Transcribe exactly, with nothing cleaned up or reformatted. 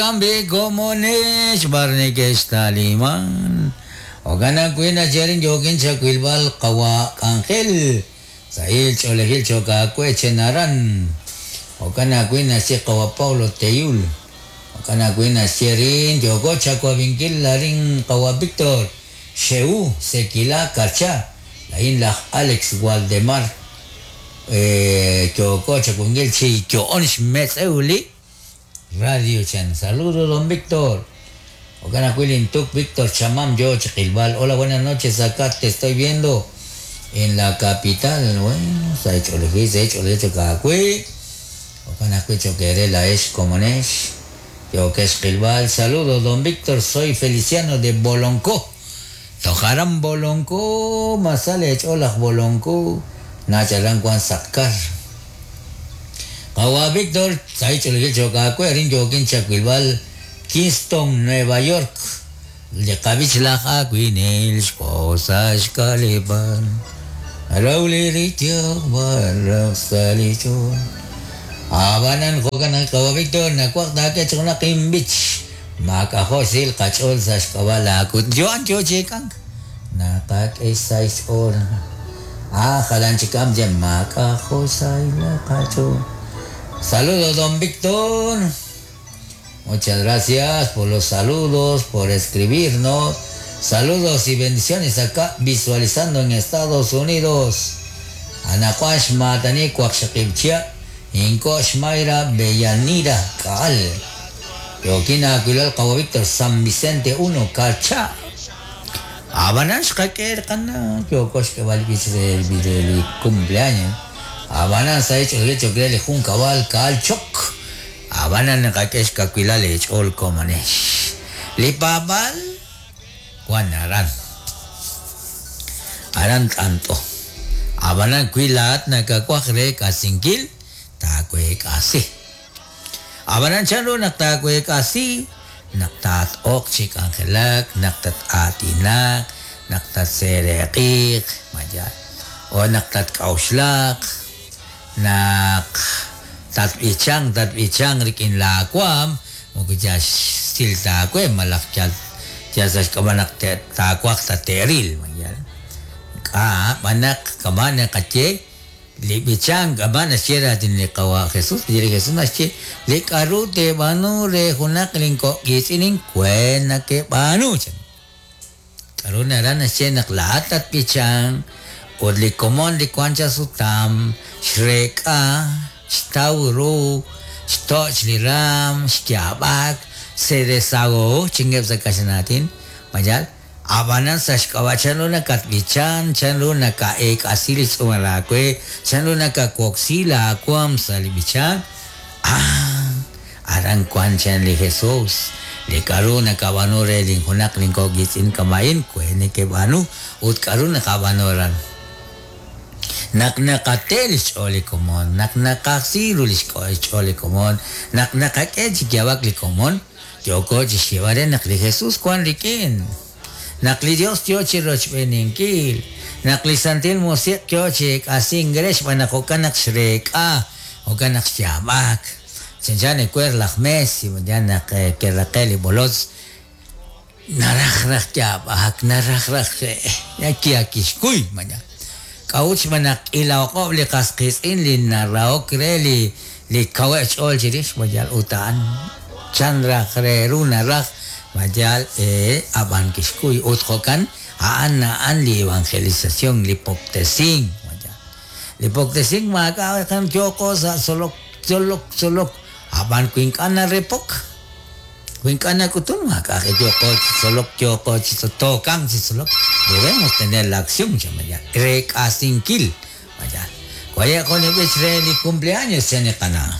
Kambi komonesh barnikesh taliman. Ogana kuina cherin yokin chakwilbal kawa angel. Sahil cholejil choka chenaran. Ogana kuina si kawa Paulo Teyul. Ogana kuina cherin yoko chakwavinkil larin kawa Víctor. Sheu Sekila Karcha. Lain laj Alex Waldemar. Eh, yoko chakwingil chi yoon shmetzeuli. Radio Chan. Saludos, don Víctor. Ocana Tuk, Víctor Chamam, yo, Chiquilbal. Hola, buenas noches. Acá te estoy viendo en la capital. Bueno, se ha hecho el se ha hecho el hecho Cacui. Ocana Choquerela es como es. Yo que es Gilbal. Saludos, don Víctor. Soy Feliciano de Boloncó. Tojaran Boloncó. Masale, hola, Boloncó. Nacharan Juan Sacar. Kawa Víctor, Kingston, Nueva York. Abanan jokan kawa Víctor, nakwak dake chuna kimbich. Makahosil kachol sashkawala kut joan jo chekang. Nakak esais or. Ah, jalan chikam jem makahosay kacho. Saludos, don Víctor. Muchas gracias por los saludos, por escribirnos. Saludos y bendiciones acá visualizando en Estados Unidos. Anacuash Matani Cuaxaquipchia, Incosh Mayra Bellanira Kaal. Yoquina Aguilar Cabo Víctor, San Vicente uno, Carcha. Abanash Kaker Kana, Yocosh que el cumpleaños. Abanan sa hecho el hecho que le jun cabal kaal chok. Abanan kakesh kakuilale ol komanesh. Lipabal guanaran. Aran tanto. Abanan kuilat nakakwakre kasinkil takwe kasi. Abanan chano naktakwe kasi naktat ok chik angelak naktat atinak naktat serekik maja o naktat kaushlak nak tatbichang tatbichang rikin lakwam mukja sil takwe malak jal jasas kamanak takwak tateril magyal ka manak kamana kache libichang kamana sierra tin kawa Jesus diri Jesus nasche likaru te banu re hunak lingko gisining kwena ke banu karuna rana che nak lahat tatbichang od likomon likwancha sutam shreka Stauro, Stoch Liram, Shkiabak, se desahogó, chingep sa kasi natin, mayal, abanan sa shkawa, chanlo na katbichan, chanlo na kaek asilis umalakwe, chanlo na kakoksila akwam sa libichan, ah, aran kwan chan li Jesus, li karu na kabanure linghunak lingkogisin kamain, kwene kebanu, ut karu na kabanoran. Naknakatel choli komon, naknakasiru choli komon, naknakake chikiawak li komon, yoko chishivare nakli Jesus kwan rikin. Nakli Dios yo chiroch beninkil, nakli santil musik yo chik asingresh manakokanak shrek ah, okanak shabak. Chenchane kuer lachmes, y kerrakeli bolos, narajraj yabak, narajraj yakiakishkuy mañana. Kauch manak ilaokob li kasqisin li naraok re li li kawech ol chirish mayal utan chandra khreru naraj mayal eh aban kishkuy utjokan aan aan li evangelización li poptesin mayal li poptesin maka kan joko sa solok solok solok aban kuinkana repok kuinkana kutun maka joko solok joko tokang solok. Debemos tener la acción, mayal. Rek asinkil, mayal. Cuaya con el cumpleaños, se ne cana.